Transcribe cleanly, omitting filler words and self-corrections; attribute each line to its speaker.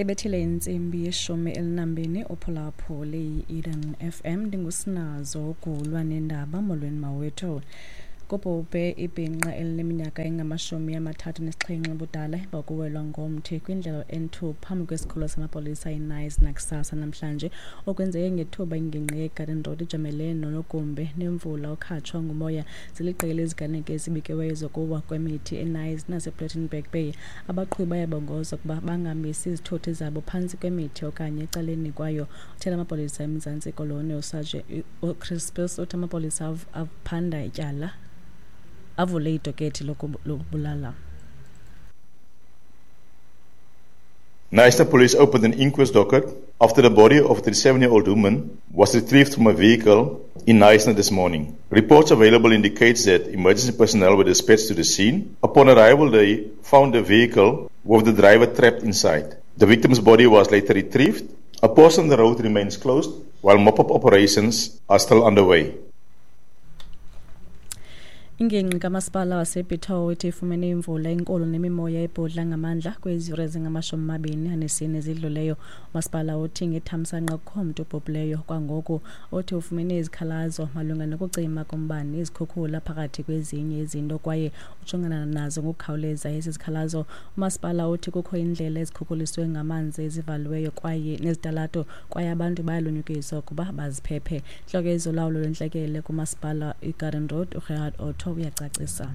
Speaker 1: Ibethile intsimbi yeshumi elinambini uphulaphule i-Eden FM. Ndingusinazo gulwa nendaba. Molweni mawethu. Kubhubhe ibhinqa elineminyaka engama-37 ubudala emva kokuwelwa ngomthi kwindlela N2 phambi kwesikhululo samapolisa iNice nakusasa namhlanje. Okwenzeke ngethuba ingingqi yeGarden Road ijamelene nonogumbe nemvula okhatshwa ngumoya. Ziliqela iziganeko ezibikiweyo zokuwa kwemithi eNice nasePlettenberg Bay. Abaqhubi bayabongozwa ukuba bangamisi izithuthi zabo phantsi kwemithi okanye ecaleni kwayo. Uthela amapolisa eMzantsi Koloni uSaje uCrispus uthi amapolisa aphanda ityala avule idokethi lokubulala.
Speaker 2: Knysna Police opened an inquest docket after the body of a 37-year-old woman was retrieved from a vehicle in Knysna this morning. Reports available indicates that emergency personnel were dispatched to the scene. Upon arrival, they found the vehicle with the driver trapped inside. The victim's body was later retrieved. A portion of the road remains closed while mop-up operations are still underway.
Speaker 1: Ingingqi kamasipala waseBitou ithi ifumene imvula enkulu nemimoya ebhudla ngamandla kwezi yure zingama-24 zidluleyo. Umasipala uthi ngethamsanqa kukho mntu ubhubhileyo kwangoku. Uthi ufumene izikhalazo malunga nokucima kombane, izikhukhula phakathi kwezinye izinto kwaye ujongana nazo ngokukhawuleza ezi zikhalazo. Umasipala uthi kukho iindlela ezikhukhuliswe ngamanzi ezivaliweyo kwaye nezitalato kwaye abantu bayalunyukiswa ukuba baziphephe. Intloko yezolawulo lwentlekele kumasipala iGarden Road uGerhard Otto uyacacisa.